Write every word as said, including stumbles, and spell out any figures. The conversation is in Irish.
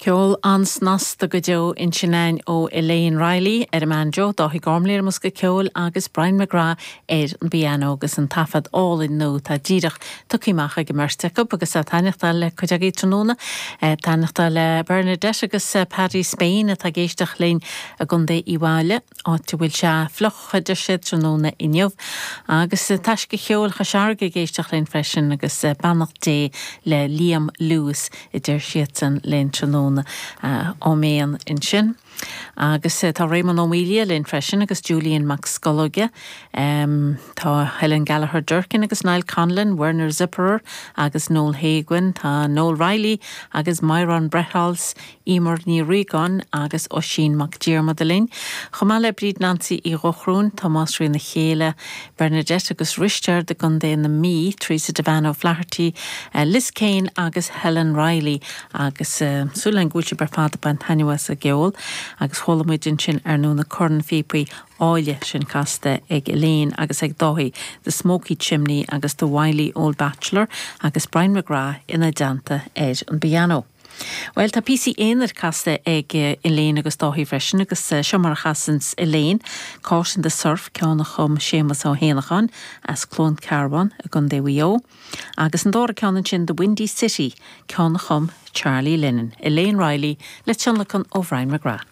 Ceol an-snasta go deo ansin againn ó Elaine Reilly ar an mbanjo, Dáithí Gormley ar an mbosca ceoil agus Brian McGrath ar an bpianó agus an taifead álainn nua atá díreach tugtha amach ag an mbeirt acu agus taitneachta le cuid agaibh tráthnóna taitneachta le Bernadette agus Paddy Spain atá ag éisteacht linn i gContae Uíbh Fhailí áit a bhfuil sé fliuch a deir siad tráthnóna inniu agus Taisce Cheoil Chois Fharraige ag éisteacht linn freisin agus beannacht Dé le Liam Lewis a deir siadsan linn tráthnóna áiméan ansin. Agus tá Raymond Ó Mília linn freisin agus Julian Mac Scolóige. Um, tá Helen Gallagher Durkin agus Niall Conlon, Werner Zipperer agus Noel Haguin, tá Noel Riley agus Myron Brethals, Emer Ní Rigan agus Oisín Mac Diarmada linn. Chomh maith le Bríd Nancy Uí Dhochróin, Tomás Rí na chéile, Bernadette agus Risteard i gContae na Mí, Teresa Devano Flaherty, uh, Liz Kane agus Helen Riley agus uh, súil go bhfuil sibh ar fad ag baint taitneamh as an gceol agus chuala muid ansin ar nó na cornphíopaí áille sin casta ag Elaine agus ag Dáithí, The Smoky Chimney agus The Wily Old Bachelor agus Brian McGrath ina dteannta ar an bpianó. Well tá píosaí aonair casta ag Elaine agus Dáithí freisin agus seo mar a chasann Elaine Caught in the Surf ceann a chum Séamus Ó hÉanacháin as Cluain Cearbán i gContae Mhaigh Eo, agus an dara ceann sin The Windy City ceann a chum Charlie Lennon, Elaine Riley le tionlacan ó Brian McGrath.